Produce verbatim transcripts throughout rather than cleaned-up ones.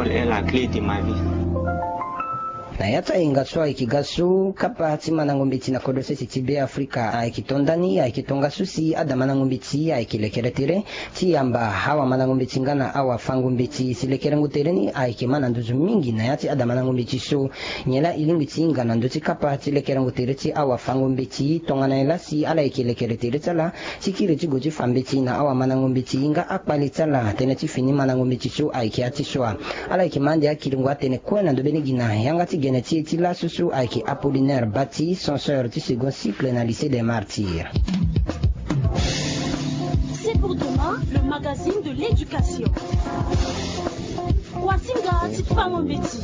Est la clé de ma vie. Na ya ti ayenga so ayeke ga so, kapa ti mandango mbeti na kodro sese ti Be Afrika ayeke to nda ni, ayeke tongaso si adamandango mbeti ayeke lekere tere ti yamba awamandango mbeti nga na awafango mbeti. Si lekerengo tere ni ayeke ma na nduzu mingi na ya ti adamandango mbeti so. Nyen laa e lingbi ti hinga na ndö ti kapa ti lekerengo tere ti awafango mbeti? Tongana nyen laa si ala yeke lekere tere ti ala ti kiri ti gue ti fa mbeti na awamandango mbeti nga akpale ti ala? Tënë ti fini mandango mbeti so ayeke ya ti so wa. Ala yeke ma ande akiringo atene kue na ndö mbeni gi na yanga ti gene ti e ti laso so ayeke Apollinaire Bati, censeur ti second cycle na lycée des Martyrs. C'est pour demain, le magazine de l'éducation. Kuasinga ti fango mbeti.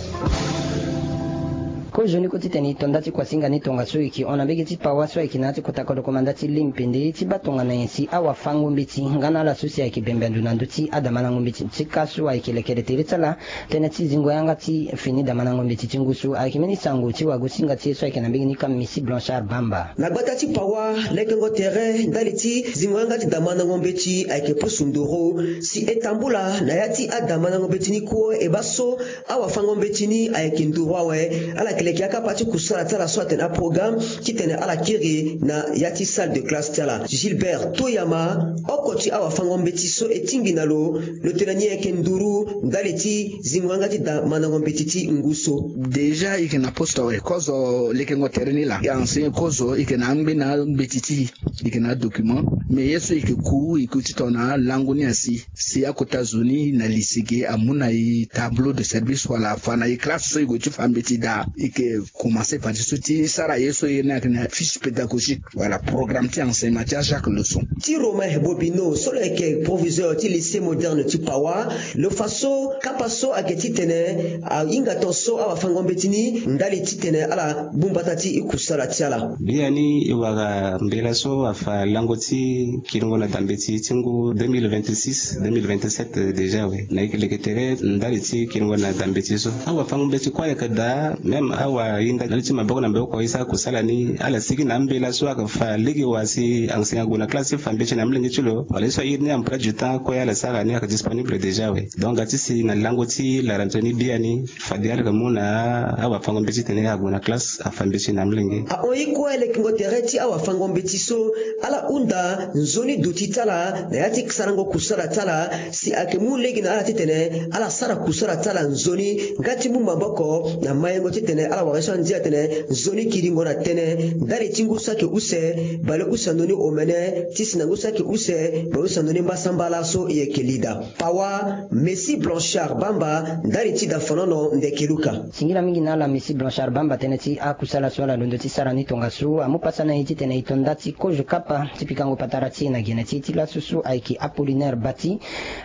Kozoni ko titene e to nda ti kuasinga ni tongaso e yeke hon na mbege ti pawa so ayeke na ya ti kota kodro komanda ti limpende ti baa tongana nyen si awafango mbeti nga na ala so si ayeke bembe ndo na ndö ti adamandango mbeti ti ka so ayeke lekere tere ti ala. Tënë ti zingo yanga ti fini damandango mbeti ti ngu so ayeke mbeni sango ti wagosinga ti e so ayeke na mbege ni ka Messie Blanchard Bamba. Na gbata ti pawa, lekengo tere ndali ti zingo yanga ti damandango mbeti ayeke pusu nduru. Si e tambula na ya ti adamandango mbeti ni kue e baa so awafango mbeti ni ayeke nduru awe. Ala yeke leke akapa ti kusala ti ala so atene aprogramme titene ala kiri na ya ti salle de classe ti ala. Gilbert Toyama, oko ti awafango mbeti so e tingbi na lo, lo tene ni ayeke nduru ndali ti zingo yanga ti damandango mbeti ti ngu so. Déjà e yeke na poste awe, kozo lekengo tere ni laa e enseigne kozo, e yeke na angbena mbeti ti e, e yeke na adocument. Mais ye so e yeke ku, e ku titene alango ni asi si akota zo ni na lycée ge amu na e tableau de service wala afa na e classe so e gue ti fa mbeti daa. E yeke commencer partie so ti sara ye so e iri ni ayeke na fiche pédagogique wala programme ti enseignement ti achaque leçon. Ti Romain Bobino so lo yeke proviseur ti lycée moderne ti Pawa, lo fa so kapa so ayeke titene ahinga ton so awafango mbeti ni ndali titene ala gbu mbata ti kusala ti ala. Biani e wara mbela so afa lango ti kiringo na dambeti ti ngu deux mille vingt-six, deux mille vingt-sept déjà awe. Na e yeke leke tere ndali ti kiringo na dambeti so. Awafango mbeti kue ayeke daa, même awahinda ndali ti maboko na maboko e sara kusala ni, ala sigi na ambela so ayeke fa lege wa si enseignant ague na classe ti fa mbeti na amolenge ti lo, wala ye so a iri ni emploi du temps kue ala sara ni ayeke disponible déjà awe. Donc ga ti si na lango ti la rentrée ni biani, fade ala yeke mu na awafango mbeti titene ague na classe afa mbeti na amolenge. Ahon ye kue lekengo tere ti awafango mbeti so, ala hunda nzoni duti ti ala na ya ti sarango kusala ti ala, si ayeke mu lege na ala titene ala sara kusala ti ala nzoni nga ti mu maboko na mayengo titene ala wara ye so andia atene nzoni kiringo na tënë ndali ti ngu so ayeke use, bale use ando ni omene, ti si na ngu so ayeke use, bale use ando ni mbasambala so e yeke li daa. Pawa, Messie Blanchard Bamba, ndali ti dafanono ndeke luka. Singila mingi na ala Messie Blanchard Bamba, tënë ti akusala so ala londo ti sara ni tongaso amu pasa na e titene e to nda ti kozo kapa ti pikango patara ti e na gene ti e ti laso so ayeke Apollinaire Bati.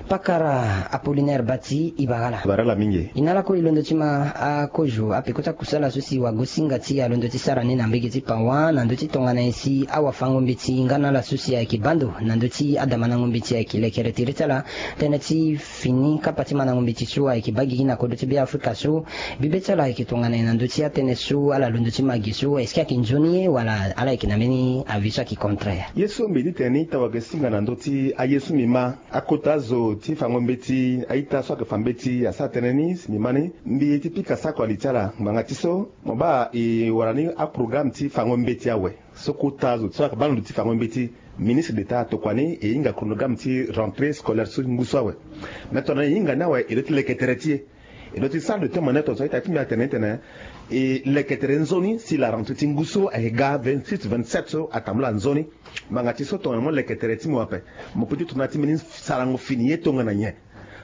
Pakara Apollinaire Bati, e bara ala. Bara ala mingi. E na ala kue e londo ti ma akozo apeko ti akusala so si wagosinga ti e alondo ti sara ni na mbege ti Pawa na ndö ti tongana nyen si awafango mbeti nga na ala so si ayeke baa ndo na ndö ti adamandango mbeti ayeke lekere tere ti ala. Tënë ti fini kapa ti mandango mbeti so ayeke baa gigi na kodro ti Be Afrika so, bibe ti ala ayeke tongana nyen na ndö ti atënë so ala londo ti ma gi so? Est-ce que ayeke nzoni ye wala ala yeke na mbeni avis so ayeke contraire? Ye so mbi ye ti tene ni tawage singa na ndö ti aye so mbi ma, akota zo ti fango mbeti, a-ita so ayeke fa mbeti asara tënë ni si mbi ma ni, mbi ye ti pika sako ali ti ala ngbanga ti so mo baa e wara ni aprogramme ti fango mbeti awe. So kota zo so ayeke baa ndo ti fango mbeti, ministre d'État atokua ni e hinga chronogramme ti rentrée scolaire so ngu so awe. Me tongana e hinga ni awe e loto ti leke tere ti e. E loto ti salle de témoin ni tongaso a-ita ti mbi atene ni tene e leke tere nzoni si la rentrée ti ngu so ayeke ga vingt-six vingt-sept so atambula nzoni. Ngbanga ti so tongana mo leke tere ti mo ape, mo peut ti tongana ti mbeni sarango fini ye tongana nyen?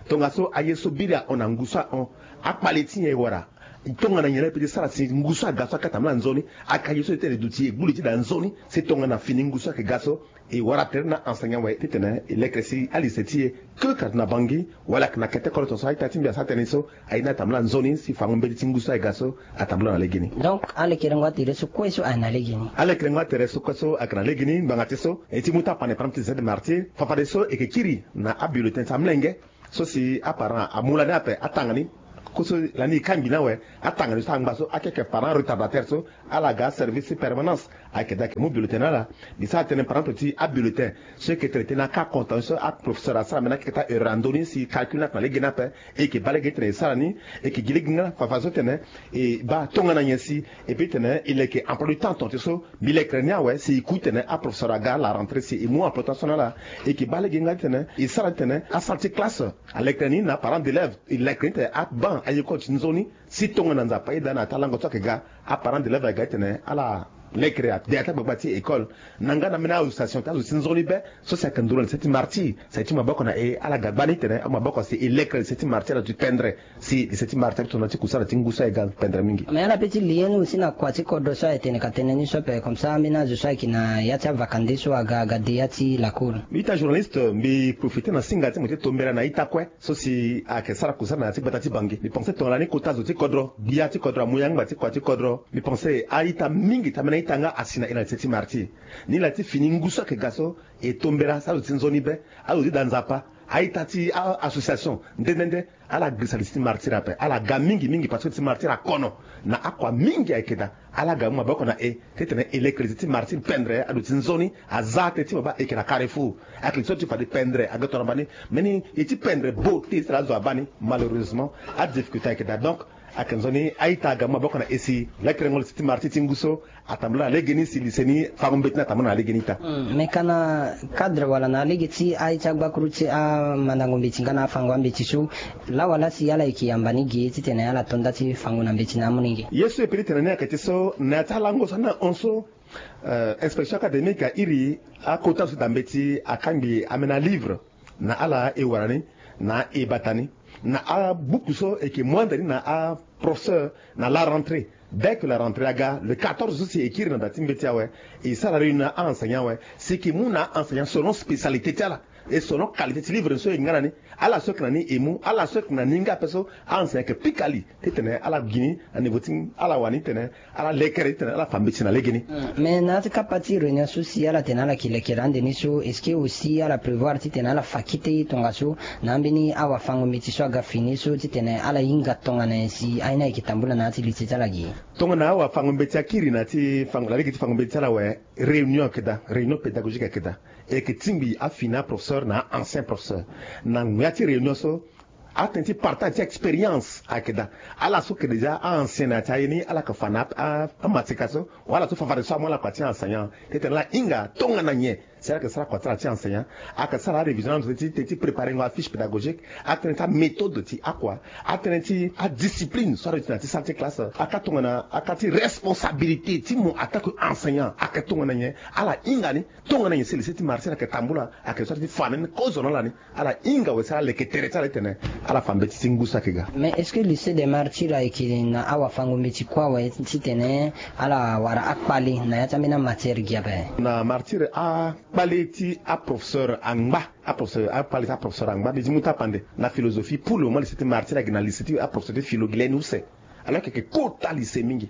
Tongaso aye so biri ahon na ngu so ahon, akpale ti nyen e wara? Tongana nyen laa e peut ti sara si ngu so aga so akata mla nzoni? Aka ye so e tene duti e gbu li ti daa nzoni si tongana fini ngu so ayeke ga so e wara tere na enseignant awe titene e leke si alycée ti e, que ayeke na Bangui wala ayeke na kete kolo tongaso a-ita ti mbi asara tënë ni so, aye ni atambula nzoni si fango mbeti ti ngu so ayeke ga so atambula na legeni. Donc alekerengo atere so kue so ayeke na legeni. Alekerengo atere so kue so ayeke na legeni ngbanga ti so e ti mu ti apane pram ti Z martyr, fafade so e yeke kiri na abulletin ti amlenge. So si aparent amu lani ape atanga ni, ku so lani e kangbi ni awe, atanga ni so angba so ake ayeke parent retardataire so ala ga aservice ti permanence. Ayeke daa ayeke mu bulletin na ala. Mbi sara tënë par exemple ti abulletin so e yeke tene tënë na ka contention so aprofesseur asara mbeni akeke ti aheure na ndö ni si calcul ni ayeke na lege ni ape. E yeke baa lege ti tene e sara ni. E yeke gi lege nga fafa so tene e baa tongana nyen si e peut ti tene e leke emploi du temps tongaso. Mbi lekere ni awe si e ku ti tene aprofesseur aga la rentrée si e mu emploi du temps so na ala. E yeke baa lege nga ti tene e sara ti tene asalle ti classe alekere ni na parent d'élève. E lekere ni ti tene aban ayekoli ti nzoni. Si tongana Nzapa aye daa na ya ti alango so ayeke ga, aparent d'élève ayeke ga ti tene ala lekere ade ya ti agbagba ti école. Na nga na ambeni association ti azo ti nzoni be so si ayeke nduru na lycée ti Martyrs, si aye ti mu maboko na e ala ga gbani ti tene amu maboko si e lekere lycée ti Martyrs aduti pendre. Si lycée ti Martyrs aduti tongana ti kusala ti ngu so aye ga pendre mingi. Mais ala peut ti lie ni aussi na kua ti kodro so aye tene ka tene ni so ape comme ça ambeni azo so ayeke na ya ti avakande so aga aga de ya ti lakol. Ita journaliste, mbi profite na singa ti mo ti tombela na ita kue so si ayeke sara kusala na ya ti gbata ti Bangui. Mbi pense tongana ni kota zo ti kodro, gbia ti kodro, amu yangba ti kua ti kodro. Mbi pense a-ita mingi ti ambeni a-ita nga asi na e na lycée ti Martyrs. Ni laa ti fini ngu so ayeke ga so e tombela si azo ti nzoni be, azo ti da Nzapa, a-ita ti a-association nde nde nde, ala girisa lycée ti Martyrs ape. Ala ga mingi mingi parce que lycée ti Martyrs akono na akua mingi ayeke daa. Ala ga mu maboko na e ti tene e leke lycée ti Martyrs pendre aduti nzoni. Aza tënë ti mo baa e yeke na carrefour. Ayeke li so ti fade pendre aga tongana baa ni. Mbeni e ti pendre bo ti e ti tara azo abaa ni. Malheureusement adifficulté ayeke daa. Donc ayeke nzoni a-ita aga mu maboko na e si lekerengo lycée ti Martyrs ti ngu so atambula na legeni si lycée ni fango mbeti ni atambula na legeni ita. Hmm, me ka na cadre wala na lege ti aye ti agbakuru ti amandango mbeti nga na afango ambeti so, laa wala si ala yeke yamba ni ge ti tene ala to nda ti fango na mbeti na amolenge? Ye so e peut ti tene ni ayeke ti so na ya ti alango so ani na hon so, euh, inspection académique airi akota zo ti da mbeti akangbi ambeni alivre na ala e wara ni na e bata ni na abuku so e yeke mu ande ni na aprofesseur na la rentrée. Dès que la rentrée aga le quatorze so si e kiri na da ti mbeti awe, e sara réunion na a-enseignant awe si e yeke mu na a-enseignant selon spécialité ti ala et selon qualité ti livre so e nga na ni. Ala so yeke na ni e mu, ala so yeke na ni nga ape so a-enseignant yeke pika li ti tene ala gi ni na niveau ti ala wani ti tene ala lekere ti tene ala fa mbeti na legeni. Hmm. Mais na ya ti kapa ti réunion so si ala tene ala yeke lekere ande ni so, est-ce que aussi ala prévoir ti tene ala fa kete tongaso na ambeni awafango-mbeti so aga fini so ti tene ala hinga tongana nyen si aye ni ayeke tambula na ya ti lycée ti ala ge? Tongana awafango-mbeti akiri na ya ti fango, na lege ti fango-mbeti ti ala awe, réunion ayeke daa, réunion pédagogique ayeke daa. E yeke tingbi afini aprofesseur na a-ancien professeur na ya ti réunion so. Atënë ti partage ti expérience ayeke daa. Ala so yeke déjà a-ancien na ya ti aye ni, ala yeke fa na a, a, amatika so, wala ala so fa fade so amu ala kua ti enseignant ti tene ala hinga tongana nyen si ala yeke sara kua ti ala ti enseignant. Ayeke sara arévision na ndo ti, ti, ti préparengo afiche pédagogique. Atënë ti améthode ti akua. Atënë ti adiscipline so aduti na ya ti salle ti classe. Aka tongana aka ti responsabilité ti mo en tant que enseignant ayeke tongana nyen. Ala hinga ni tongana nyen si lycée ti Martyrs ayeke tambula, ayeke so ti fa na ni kozo na ala ni. Ala hinga awe si ala leke tere ti ala ti tene ala fa mbeti ti ngu so ayeke ga. Mais est-ce que lycée des Martyrs ayeke na awafango-mbeti kue awe ti tene ala wara akpale na ya ti ambeni amatière gi ape? Na Martyrs akpale ti aprofesseur angba, aprofesseur, akpale ti aprofesseur angba, mbi ti mu tapande na philosophie. Pour le moment lycée ti Martyrs ayeke na lycée ti aprofesseur ti philo gi leni use. Alors que ayeke kota lycée mingi.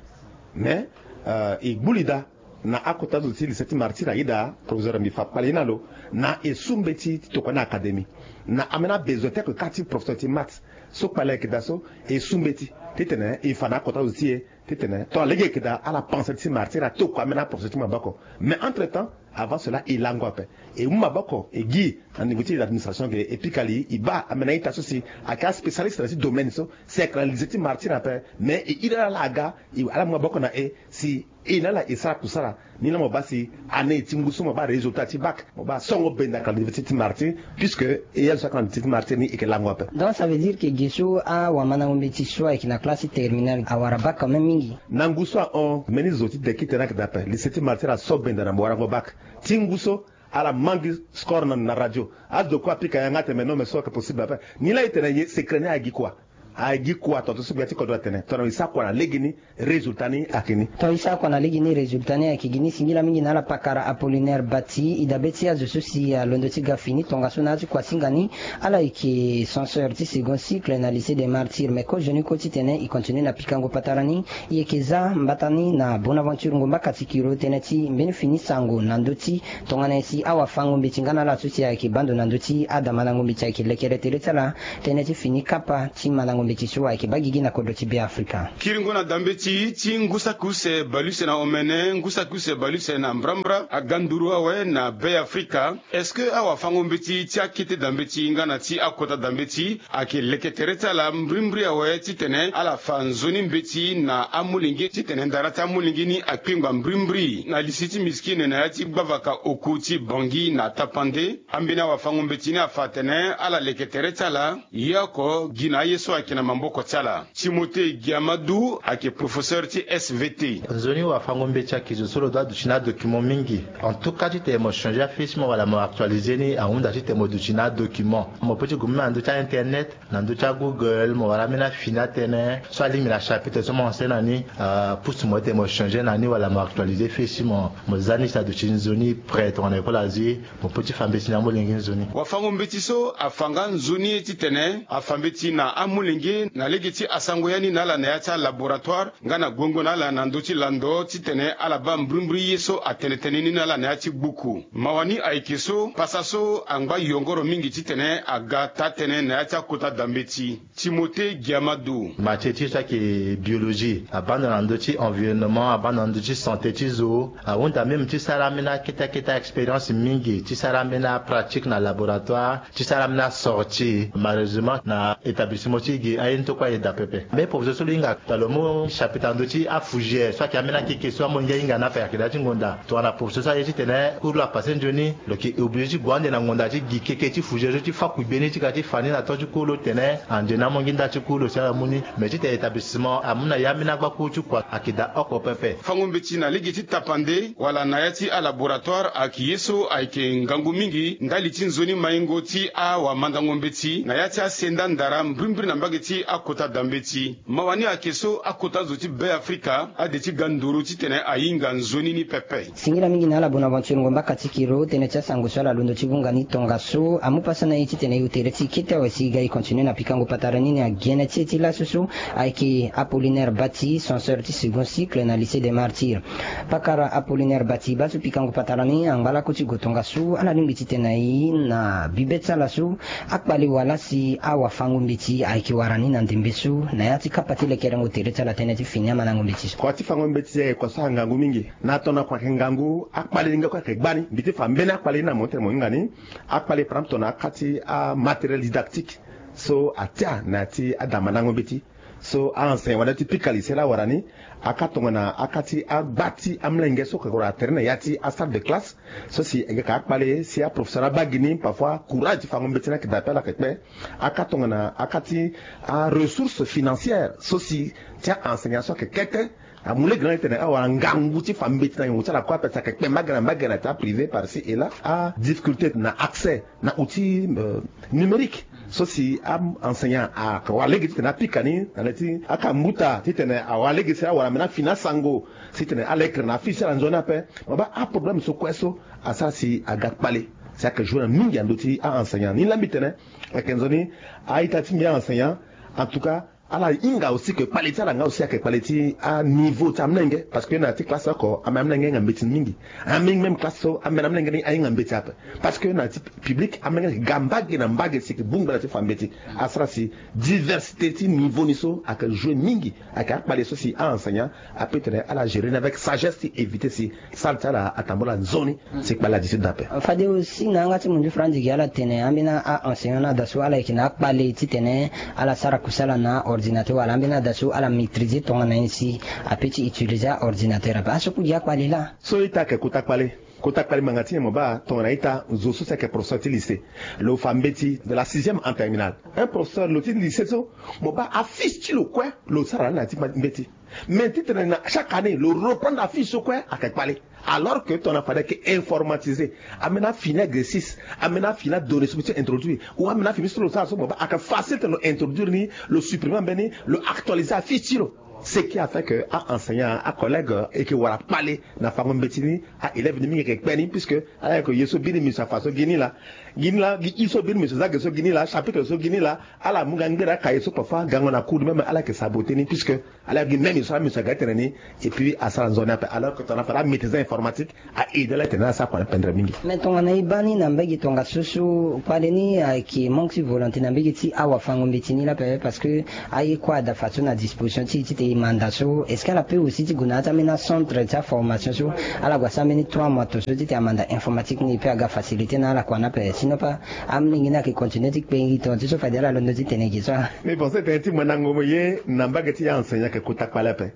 Mais, euh, e gbu li daa na akota zo ti lycée ti Martyrs ayeda professeur, mbi fa kpale ye na lo, na e su mbeti ti tokua ni académie na ambeni abesoin ti ake ka ti professeur ti maths so kpale ayeke daa so. E su mbeti ti tene e fa na akota zo ti e ti tene tongana lege ayeke daa ala pense ti Martyrs atokua ambeni aprofesseur ti maboko. Mais entre temps, avant cela e lango ape, e mu maboko e gi na niveau ti l'administration ke e pika li e baa ambeni a-ita so si ayeke aspécialiste na ya ti domaine so, si ayeke na lycée ti Martyrs ape. Mais e iri ala ala aga, e, ala mu maboko na e si e na ala e sara kusala. Ni laa mo baa si année ti ngu so mo baa résultat ti bac, mo baa songo benda ayeke na université ti Martyrs, puisque e azo so ayeke na université ti Martyrs ni e yeke lango ape. Donc ça veut dire que ge so awamandango mbeti so ayeke na classe ti terminale awara bac quand même mingi. Na ngu so ahon mbeni zo ti deki tene ayeke daa ape, lycée ti Martyrs aso benda na mo warango bac. Ti ngu so ala mangi score na, na radio. Azo kue apika yanga atene me non, me so ayeke possible ape. Ni laa e tene ye secret ni ayeke gi kua? Ayeke gi kua? Tongaso so gbia ti kodro atene tongana e sara kua na legeni, résultat ni ayeke ni. Tongana e sara kua na legeni, résultat ni ayeke gi ni. Singila mingi na ala pakara Apollinaire Bati. E dabe ti azo so si alondo ti ga fini tongaso na ya ti kuasinga ni, ala yeke censeur ti second cycle na lycée des Martyrs. Mais kozoni kue ti tene e continue na pikango patara ni, e yeke za mbata ni na Bonaventure Ngomba Katikiro tënë ti mbeni fini sango na ndö ti tongana nyen si awafango-mbeti nga na ala so si ayeke baa ndo na ndö ti adamandango mbeti ayeke lekere tere ti ala tënë ti fini kapa ti mandango Mbeti so ayeke baa gigi na kodro ti Be Afrika. Kiringo na dambeti ti ngu saki use bale use na omene, ngu saki use bale use na mbrambra aga nduru awe na Be Afrika. Est-ce que awafango-mbeti ti akete dambeti nga na ti akota dambeti ayeke leke tere ti ala mbrimbri awe titene ala fa nzoni mbeti na amolenge titene ndara ti amolenge ni akpengba mbrimbri? Na lise ti misikine na ya ti gbavaka oku ti Bangui na Tapandé, ambeni awafango-mbeti ni afa atene ala leke tere ti ala. Ye oko gi na aye so ayeke na maboko ti ala. Timothée Giamadu ayeke professeur ti S V T. Nzoni wafango-mbeti ayeke zo so lo doit duti na adocument mingi. En tout cas titene mo changer afille ti mo wala mo actualiser ni ahunda titene mo duti na adocument. Mo peut ti gue même na ndö ti a-internet, na ndö ti a-Google, mo wara ambeni afini atënë so alingbi na chapitre so mo enseigne na ni, euh, pousse mo titene mo changer na ni wala mo actualiser fille ti mo. Mo za ni si aduti nzoni prêt tongana école azi, mo peut ti fa mbeti na amolenge nzoni. Wafango-mbeti so afa nga nzoni ye titene afa mbeti na amolenge na lege ti asango ya ni na ala na ya ti alaboratoire nga na guengo na ala na ndö ti lando titene ala baa mbrimbri ye so atene tënë ni na ala na ya ti gbuku. Mawa ni ayeke so pasa so angba yongoro mingi titene aga taa-tënë na ya ti akota dambeti. Timothée Giamadu. Matière ti so ayeke biologie, abaa ndo na ndö ti environnement, abaa ndo na ndö ti santé ti zo. Ahunda même ti sara ambeni akete akete a-expérience mingi, ti sara ambeni apratique na laboratoire, ti sara ambeni asortie. Malheureusement na établissement ti e ge aye ni tokua aye daa pepe. Mais professeur so lo hinga tongana lo mu chapitre na ndö ti afougère so ayeke ambeni akeke so amolenge ahinga ni ape ayeke daa ti ngonda. Tongana professeur so aye titene cours lo apasse nzoni, lo yeke obligé ti gue ande na ngonda ti gi keke ti fougère so ti fakui gbeni ti ga ti fa ni na temps ti cours lo titene ande na amolenge nda ti cours lo si ala mu ni. Mais titene établissement amu na ya ambeni agba cours ti kua ayeke daa oko pepe. Fango mbeti na lege ti Tapandé wala na ya ti alaboratoire ayeke ye so ayeke ngangu mingi ndali ti nzoni maingo ti awamandango mbeti na ya ti asenda ndara mbrimbri na mbage ti akota dambeti. Mawa ni ayeke so akota zo ti Be Afrika ade ti ga nduru titene ahinga nzoni ni pepe. Singila mingi na ala Bonaventure Ngomba Katikiro, tënë ti asango so ala londo ti hunga ni tongaso. Amu pasa na e titene e hoo tere ti e kete awe si e ga e continue na pikango patara ni na gene ti e ti laso so ayeke Apollinaire Bati, censeur ti second cycle na lycée des Martyrs. Pakara Apollinaire Bati, baa so pikango patara ni angba lako ti go tongaso, ala lingbi titene na e na bibe ti ala so akpale wala si awafango-mbeti ayeke wara ni na ndembe so na ya ti kapa ti lekerengo tere ti ala tënë ti fini amandango mbeti so. Kua ti fango mbeti ayeke kua so angangu mingi. Na tongana kua ayeke ngangu, akpale ni nga kue ayeke gbani. Mbi ti fa mbeni akpale ni na mo titene mo hinga ni. Akpale par exemple tongana aka ti amatériel didactique so atia na ya ti adamandango mbeti. So a-enseignant wala ti pika lycée laa awara ni. Aka tongana aka ti agba ti amolenge so ayeke wara tere na ya ti asalle de classe. So si e yeke akpale si aprofesseur abaa gi ni, parfois courage ti fango mbeti ni ayeke daa ape, ala yeke kpe. Aka tongana aka ti aressource financière so si ti a-enseignant so ayeke kete. Amu lege na ala titene awara ngangu ti fa mbeti na ngangu ti ala kue ape, si ayeke kpe mbage na mbage na ti aprivé par ci et là. Adifficulté na accès na outil, euh, numérique. So si a-enseignant ayeke wara lege titene apika ni na le ti aka mbuta titene awara lege si awara mbeni afini asango, si titene alekere na afille ti ala nzoni ape. Mo baa aproblème so kue so asara si aga kpale, si ayeke jouer na mingi na ndö ti a-enseignant. Ni laa mbi tene ayeke nzoni a-ita ti mbi a-enseignant. En tout cas, ala hinga aussi que kpale ti ala nga aussi ayeke kpale ti aniveau ti amolenge, parce que na ya ti classe oko, ambeni amolenge ahinga mbeti mingi. Ambeni même classe so, ambeni amolenge ni ahinga mbeti ape. Parce que na ya ti public, amolenge ayeke ga mbage na mbage si ayeke bongbi ala ti fa mbeti. Asara si diversité ti niveau ni so ayeke jouer mingi. Ayeke akpale so si a-enseignant apeut tene ala gérer ni avec sagesse ti éviter si salle ti ala atambula nzoni. Si kpale adi ti daa ape. Fade aussi na yanga ti mundu franzi gi ala tene ambeni a-enseignant ni ada so ala yeke na akpale titene ala sara kusala na ordinateur, wala ambeni ada so ala maîtriser tongana nyen si apeut ti utiliser a-ordinateur ape. Aso ku gi akpale laa. So ita ayeke kota kpale. Kota kpale ngbanga ti nyen? Mo baa tongana ita zo so si ayeke professeur ti lycée, lo fa mbeti de la sixième en terminale. Un professeur lo ti lycée so, mo baa afiche ti lo kue lo sara na ya ti mbeti. Mais titene na chaque année lo reprendre afiche so kue ayeke kpale. Alors que tongana fade ayeke informatiser, ambeni afini exercice, ambeni afini adonnée so mbi ti introduire, ou ambeni afini so lo sara so mo baa ayeke facile titene lo introduire ni, lo supprimer ambeni, lo actualiser afiche ti lo. Ce qui a fait que a-enseignant, acollègue, e yeke wara kpale na fango mbeti ni. A-élève ni mingi ayeke kpe ni, puisque ala yeke ye so biri mbi so afa so gi ni laa. Gi ni laa gi i so biri monsieur Zage so gi ni laa chapitre so gi ni laa, ala mu ga ngbere akaye so parfois gango na cour même ala yeke saboter ni puisque ala gi même ye so ala monsieur aga ti tene ni. Et puis asara nzoni ape alors que tongana fade amaîtriser informatique, a aider ala ti tene ala sara kua na pendre mingi. Mais tongana e baa ni na mbage tongaso so kpale ni ayeke manque ti volonté na mbage ti awafango-mbeti ni laa ape parce que aye kue ada fadeso na disposition ti e ti tene e manda so est-ce que ala peut aussi ti gue na ya ti ambeni acentre ti aformation so ala gue asara mbeni trois mois to so ti tene amanda informatique ni e peut aga facilité na ala kua ni ape sinon pas amolenge ni ayeke continuer ti kpengi tonga ti so fade ala londo ti tene gi so. Mais bon so e tene ti mandango mo ye na mbage ti aenseignant ayeke kota kpale ape.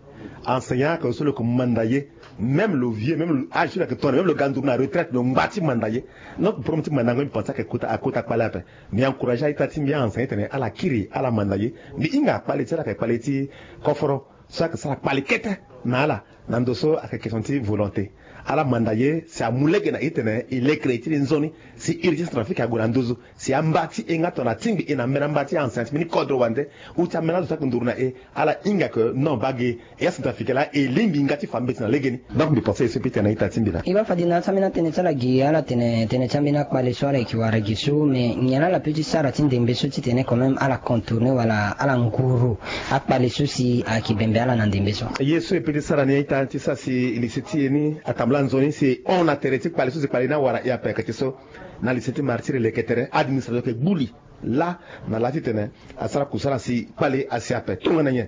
Enseignant ayeke so lo yeke manda ye. Même lo vieux même lo âge so lo yeke tongana même lo ga nduru na retraite lo ngba ti manda ye. Donc problème ti mandango mbi pense ayeke kota akota kpale ape. Mbi encourager a-ita ti mbi aenseignant ti tene ala kiri ala manda ye. Mbi hinga kpale ti ala ayeke kpale ti koforo so ayeke sara kpale kete na ala. Na ndo so ayeke question ti volonté. Ala manda ye si amu lege na e ti tene e lekere ti e nzoni. Si urgence trafic ague na nduzu si amba ti e nga tongana atingbi e na mbeni amba ti aenseignant ti mbeni kodro wande. Ou ti ambeni azo so ayeke nduru na e ala hinga ke non bage. E acentrafricain laa e lingbi nga ti fa mbeti na lege ni. Donc mbi pense ye so mbi tene na ita ti mbi laa. E baa fade na ya ti ambeni atënë ti ala gi ala tene tënë ti ambeni akpale so ala yeke wara gi so mais nyen laa ala peut ti sara ti ndembe so ti tene quand même ala contourner wala ala nguru akpale so si ayeke bembe ala na ndembe so? Ye so e peut ti sara ni a-ita ti sara si lycée ti e ni atambula nzoni si e hon na tere ti kpale so si kpale ni awara e ape ayeke ti so. Na lycée ti martyr e leke tere administration ayeke gbu li laa na laa ti tene asara kusala si kpale asi ape tongana nyen?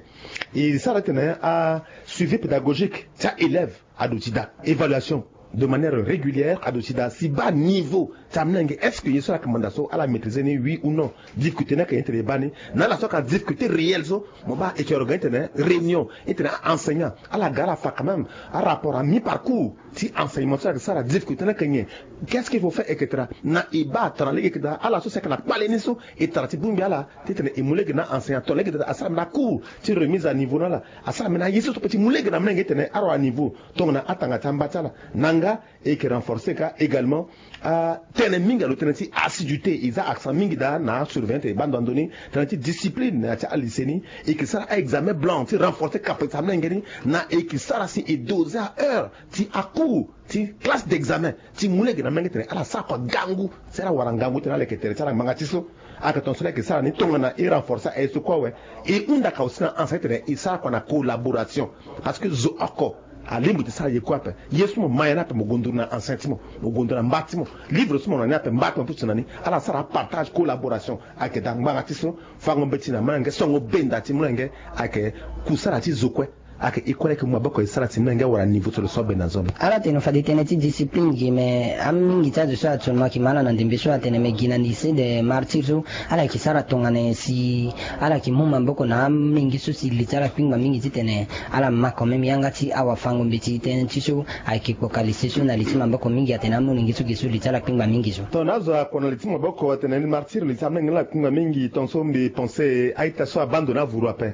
E sara ti tene asuivi pédagogique ti aélève aduti daa. Évaluation de manière régulière aduti daa si baa niveau ti amolenge est-ce que ye so ala yeke manda so ala maîtriser ni oui ou non? Difficulté ni ayeke nyen ti tene e baa ni na ala so ayeke na difficulté réelle so mo baa e yeke organiser ti tene réunion ti tene aenseignant ala ga ala fa quand même arapport ami parcours ti enseignement so ala yeke sara difficulté ni ayeke nyen? Qu'est-ce qu'il faut faire et cetera? Na e baa atara lege yeke daa ala so si ayeke na kpale ni so e tara ti bongbi ala ti tene e mu lege na enseignant tongana lege daa asara mbeni acours ti remise à niveau na ala. Asara mbeni aye so so pe ti mu lege na amolenge ti tene ara wa niveau tongana atanga ti amba ti ala. Na nga e yeke renforcer ka également atënë mingi alo tënë ti assiduité e za accent mingi daa na asurveillant ti tene e baa ndo na ndoni tënë ti discipline na ya ti alycée ni. E yeke sara aexamen blanc ti renforcer capacité amolenge ni. Na e yeke sara si e doser aheure ti acours ti classe d'examen ti mu lege na amolenge ti tene ala sara kua gangu si ala wara ngangu ti tene ala yeke tere ti ala ngbanga ti so. Ayeke tongaso la e yeke sara ni tongana e renforcer aye so kue awe. E hunda ka aussi na enseignant ti tene e sara kua na collaboration. Parce que zo oko alingbi ti sara ye kue ape. Ye so mo ma ye ni ape mo gonduru na enseignant ti mo, mo gonduru na mba ti mo. Livre so mo na ni ape mba ti mo apusu na ni. Ala sara apartage collaboration. Ayeke daa ngbanga ti so fango mbeti na amolenge songo benda ti molenge. Ayeke kusala ti zo kue. Ayeke e kue la e yeke mu maboko e sara si molenge awara niveau so lo so abenda nzoni. Ala tene fade tënë ti discipline gi mais amingi ti azo so actuellement e yeke ma ala na ndembe so atene me gi na lycée de martyr so ala yeke sara tongana nyen si ala yeke mu maboko na amingi so si li ti ala kpingba mingi ti tene ala ma quand même yanga ti awafango mbeti tënë ti so ayeke kpoka lycée so na li ti maboko mingi atene amolenge so gi so li ti ala kpingba mingi so. Tongana azo akua na li ti maboko atene martyr li ti amolenge ni ala kpingba mingi tongaso mbi pense a-ita so abaa ndo na avuru ape.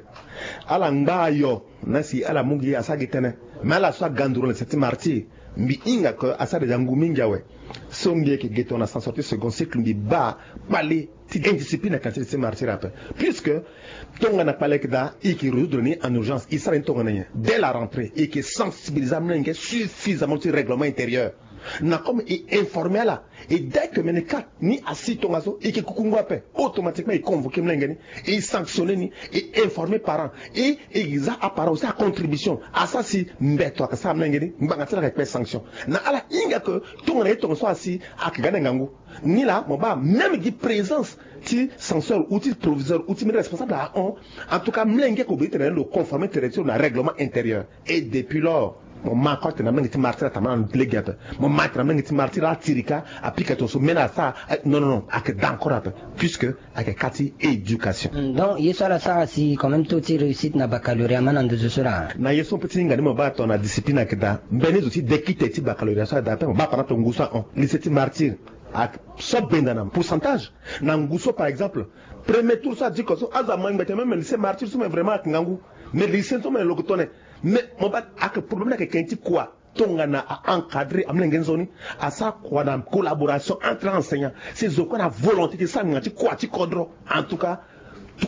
Ala ngba ayo na si ala mu gi asara gi tënë. Mais ala so aga nduru na li ti martyr mbi hinga ke asara déjà ngu mingi awe. So mbi yeke ge tongana sanction ti second cycle mbi baa kpale ti indiscipline na quantité ti martyr ape. Puisque tongana kpale yeke daa e yeke résoudre ni en urgence e sara ni tongana nyen? Dès la rentrée e yeke sensibiliser amolenge suffisamment ti règlement intérieur. Na comme e informer ala. Et dès que mene ka ni asi tongaso e yeke kuku ngu ape automatiquement e convoquer molenge ni, e sanctionner ni, e informer parent, e e za aparent aussi acontribution asara si mbeto ayeke sara molenge ni ngbanga ti ala ayeke kpe sanction. Na ala hinga ke tongana ye tongaso asi ayeke ga na e ngangu. Ni laa mo baa même gi présence ti censeur ou ti proviseur ou ti mbeni responsable ahon. En tout cas molenge ayeke obligé ti tene lo conformer tere ti lo na règlement intérieur. Et depuis lors mo ma kue atene amolenge ti martyr atambula na lege ape. Mo ma atene amolenge ti martyr atiri ka apika tongaso mene asara. Non non non ayeke daa encore ape. Puisque ayeke ka ti éducation. Donc ye so ala sara si quand même taux ti réussite na baccalauréat ama na nduzu so laa? Na ye so mpe ti hinga ni mo baa tongana discipline ayeke daa mbeni zo ti dekite ti baccalauréat so ayeke daa ape mo baa par exemple ngu so ahon lycée ti martyr. Ayeke so benda na pourcentage. Na ngu so par exemple premier tour so adiko so azo amoi ngbete même lycée martyr so me vraiment ayeke ngangu. Mais lycée so me lo yeke tone. Mais mo baa ayeke problème ni ayeke ken ti kua? Tongana a encadrer amolenge nzoni asara kua na collaboration entre enseignant si zo kue na volonté ti sara ngbanga ti kua ti kodro. En tout cas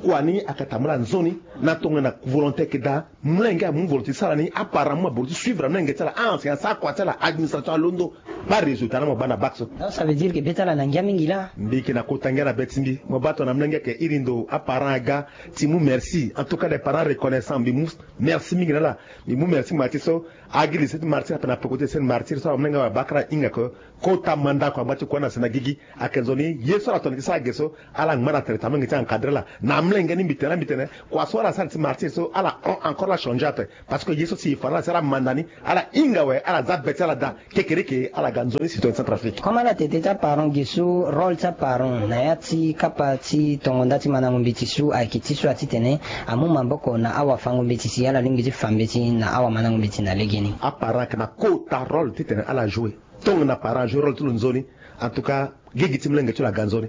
kua ni ayeke tambula nzoni. Na tongana volonté ayeke daa molenge amu volonté ti sara ni aparent amu maboro ti suivre amolenge ti ala a-enseignant asara kua ti ala administration alondo. Bâ résultat na mo bâ na bac so. Donc ça veut dire que be ti ala na ngia mingi laa. Mbi yeke na kota ngia na be ti mbi. Mo bâ tongana molenge ayeke iri ndo aparent aga ti mu merci. En tout cas, des parents reconnaissants, mbi mu merci mingi na ala. Mbi mu merci ngbanga ti so. Agi lycée ti Martyr ape na peko ti lycée ti Martyr so, amolenge awe abakara hinga ke kota mandako angba ti kua na sena gigi. Ayeke nzoni ye so ala tongana ti sara ge so, ala ngba na tere ti amolenge ti encadrer ala. Na amolenge ni mbi tene la, mbi tene kua so ala sara ti Martyr so, ala hon encore, ala changer ape. Parce que ye so si e fa na ala si ala manda ni, ala hinga awe, ala za be ti ala daa. Kekereke ala ga nzoni citoyen Centrafrique. Comme ala tene ti aparent ge so, rôle ti aparent na ya ti kapa ti tongo nda ti mandango mbeti so ayeke ti so ya titene amu maboko na awafango mbeti si ala lingbi ti fa mbeti na awamandango mbeti na legeni. Aparent ayeke na kota rôle titene ala jouer. Tongana parent ajoue rôle ti lo nzoni, en tout cas gigi ti molenge ti lo aga nzoni.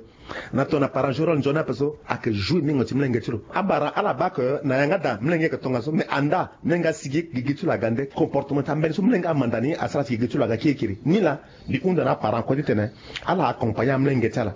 Na tongana parent ajoue rôle nzoni ape so, ayeke joue mingo ti molenge ti lo. Abara ala bâ ke na yanga daa molenge ayeke tongaso, mais andaa molenge asigi, gigi ti lo aga nde. Comportement ti ambeni so molenge amanda ni asara si gigi ti lo aga kirikiri. Nilaa mbi hunda na aparent kue titene ala accompagner amolenge ti ala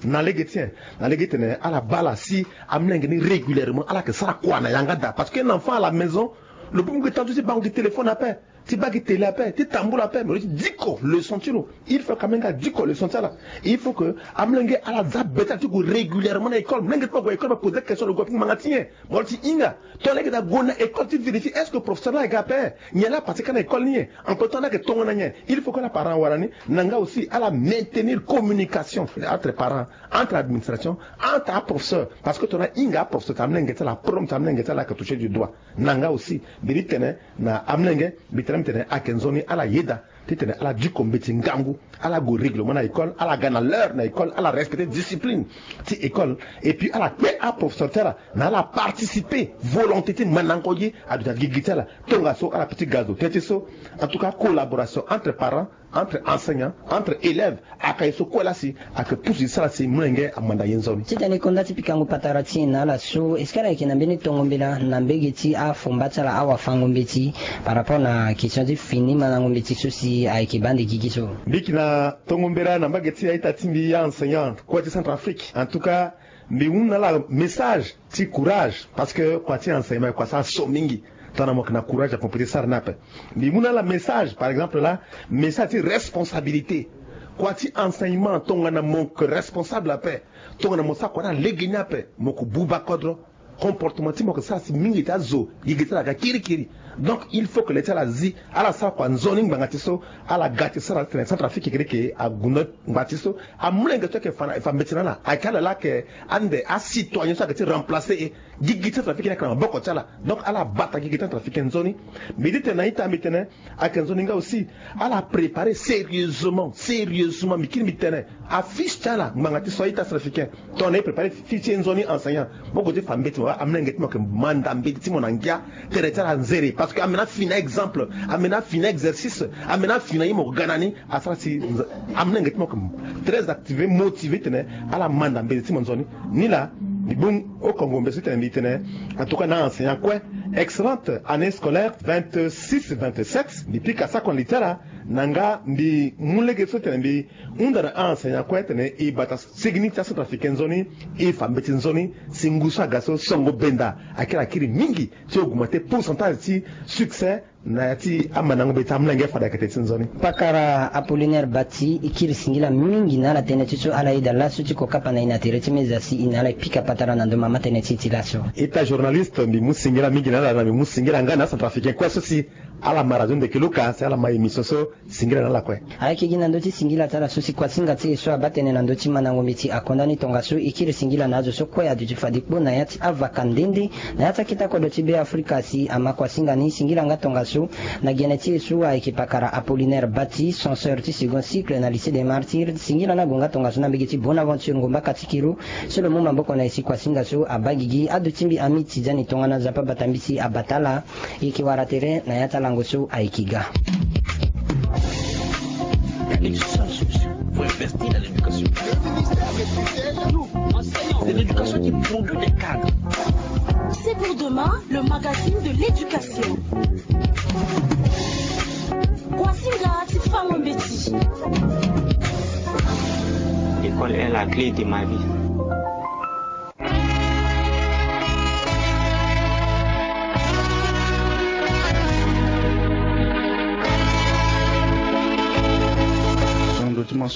na lege ti nyen? Na lege titene ala bâ ala si amolenge ni régulièrement, ala yeke sara kua na yanga daa. Parce que un enfant à la maison, lo peut mu gi temps ti bango gi téléphone ape, ti baa gi télé ape, ti tambula ape, mais lo ti diko leçon ti lo. Il faut quand même nga diko leçon ti ala. Il faut que amolenge ala za be ti ala ti gue régulièrement na école. Molenge ti mo ague école, mo poser question, lo gue ape ngbanga ti nyen? Mo lo ti hinga. Tongana lege daa gue na école ti vérifier est-ce que professeur laa aga ape? Nyen laa apassé kâ na école ni nyen? Entre temps laa ayeke tongana nyen? Il faut que ala parent awara ni. Na nga aussi ala maintenir communication entre parents, entre administration, entre aprofesseur. Parce que tongana ahinga aprofesseur ti amolenge ti ala, problème ti amolenge ti ala ayeke touché du doigt. Na nga aussi mbi di tene na amolenge, mbi tene mbi tene ayeke nzoni ala yeda titene ala diko mbeti ngangu, ala gue règlement na école, ala ga na l'heure na école, ala respecter discipline ti école. Et puis ala kpe aprofesseur ti ala na ala participer volonté ti mandango ye aduti na gigi ti ala. Tongaso ala peut ti ga zo teti so. En tout cas collaboration entre parents, entre enseignants, entre élèves, ayeke ye so kue laa si ayeke pusu e sara si molenge amanda ye nzoni. Titene e konda ti pikango patara ti e na ala so, est-ce que ala yeke na mbeni tongo mbela na mbege ti afomba ti ala awafango mbeti par rapport na question ti fini mandango mbeti so si ayeke baa nde gigi so? Mbi yeke na tongo mbela na mbage ti a-ita ti mbi, aenseignant kue ti Centrafrique. En tout cas mbi mu na ala message ti courage, parce que kua ti enseignement kua so aso mingi. Tongana mo yeke na courage ape mo peut ti sara ni ape. Mbi mu na ala message, par exemple laa, message ti responsabilité. Kua ti enseignement, tongana mo yeke responsable ape, tongana mo sara kua ni na legeni ape, mo yeke buba kodro. Comportement ti mo yeke sara si mingi ti azo gigi ti ala aga kirikiri. Donc il faut que le ti ala zi, ala sara kua nzoni ngbanga ti so. Ala ga ti sara titene Centrafrique kekereke ague ndo ngbanga ti so. Amolenge so ayeke fa mbeti na ala, ayeke ala laa ayeke ande acitoyen so ayeke ti remplacer e. Gigi ti Centrafrique ni ayeke na maboko ti ala. Donc ala bata gigi ti Centrafrique nzoni. Mbi di tene na ita mbi tene ayeke nzoni nga aussi ala préparer sérieusement, sérieusement, mbi kiri mbi tene afiche ti ala ngbanga ti so a-ita Centrafricain. Tongana e préparer fiche ti e nzoni enseignant, mo gue ti fa mbeti mo, amolenge ti mo ayeke manda mbeti ti mo na ngia. Tere ti ala anzere parce que amena afi na exemple, amena afi na exercice, amena afi na ye mo ga na ni. Asara si amolenge ti mo yeke très activé, motivé titene ala manda mbeti ti mo nzoni. Nilaa mbi bongbi oko ngombe so titene mbi tene, en tout cas na aenseignant kue, excellente année scolaire vingt-six vingt-sept. Mbi pika sako na li ti ala na nga mbi mu lege so titene mbi hunda na aenseignant kue titene e bata sigini ti acentrafricain nzoni, e fa mbeti nzoni si ngu so aga so songo benda. Akiri akiri mingi ti augmenter pourcentage ti succès na ya ti amandango mbeti ti amolenge fade ayeke tene ti nzoni. Pakara Apollinaire Bati, e kiri singila mingi na ala tënë ti so ala yeda laso ti kokapa na e na tere ti meza si e na ala e pika patara na ndo mama tënë ti e ti laso. Ita journaliste, mbi mu singila mingi na ala na mbi mu singila nga na acentrafricain kue so si ala ma radio ndeke luka si ala ma émission so. Singila na ala kue. Ayeke gi na ndö ti singila ti ala so si kuasinga ti e so abaa tënë na ndö ti mandango mbeti akonda ni tongaso. E kiri singila na azo so kue aduti fade kpo na ya ti avaka nde nde na ya ti akita kodro ti Beafrika si ama kuasinga ni. Singila nga tongaso na gene ti e so ayeke pakara Apollinaire Bati, censeur ti second cycle na lycée des Martyrs. Singila ni ague nga tongaso na mbege ti Bonaventure Ngomba Katikiro so lo mu maboko na e si kuasinga so abaa gigi. Aduti mbi Ami Tidiane tongana Nzapa bata mbi si abata ala. E yeke wara tere na ya ti alango so ayeke ga. Il y a une seule solution pour investir dans l'éducation. Nous, enseignants, c'est l'éducation qui produit des cadres. C'est pour demain, le magazine de l'éducation. Kuasinga ti fango mbeti. L'école est la clé de ma vie.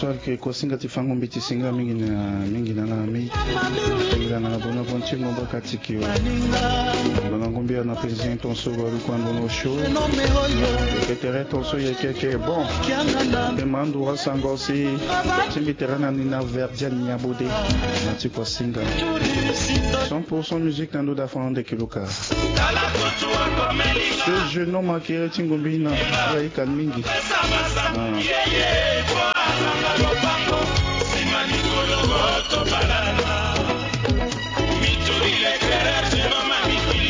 Ke kosinga ti fango mbi ti singa mingi na mingi na nga mi. Singa na bono bon ti ngomba kati ki. Bono ngombi na président ton so ba lu kwa bono show. Ke tere ton so ye ke ke bon. Ke mandu wa sango si. Timbi tere na ni na verdian nya bode. Na ti kosinga. Cent pour cent musique na ndo da fande kiloka. Ce jeune homme akiri ti ngombi na. Aika mingi.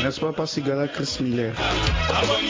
N'est-ce pas, pas Sigala Chris Miller?